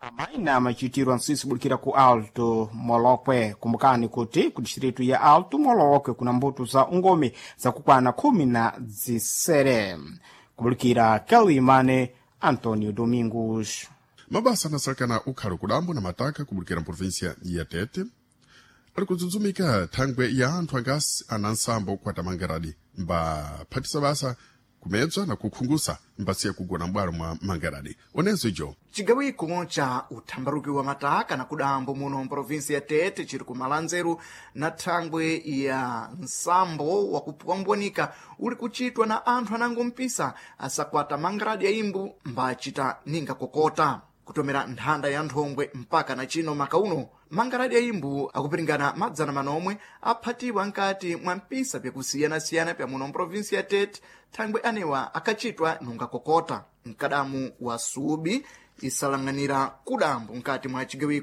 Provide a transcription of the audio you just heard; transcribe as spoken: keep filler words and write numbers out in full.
Amaina machitirwa msisi bulikira ku Alto Molokwe. Kumbukani kuti ku distritu ya Alto Molokwe kuna mbuto za ungomi zakukwana khumi na zisere. Kubulikira Kelimane, Antonio Domingos. Mabasa anasalekana ukhalo kudambo na mataka kubulikira mprovinsia ya Tete ali kudzudzumika thangwe ya anthu angasi ana nsambo kukwata mangaradi mbaphatisa basa kumedzwa na kukhungusa mbasiya kugona m'bwalo mwa mangaradi onenso ijo. Cigawiko ca uthambaruki wa mataka na kudambo muno mprovinsi ya Tete ciri kumalanzeru na thangwe ya nsambo wa kupwambwanika uli kucitwa na anthu anango mpisa asakwata mangaradi ya imbu mbacita ninga kokota kutomera nthanda ya nthongwe. Mpaka na cino maka uno mangaradi ya imbu akupiringana madzana manomwe aphatiwa nkati mwa mpisa pyakusiyanasiyana pya muno mprovinsi ya Tete, thangwe anewa akacitwa nunga kokota mkadamu wa subi isalang'anira kudambo nkati mwa cigawiko.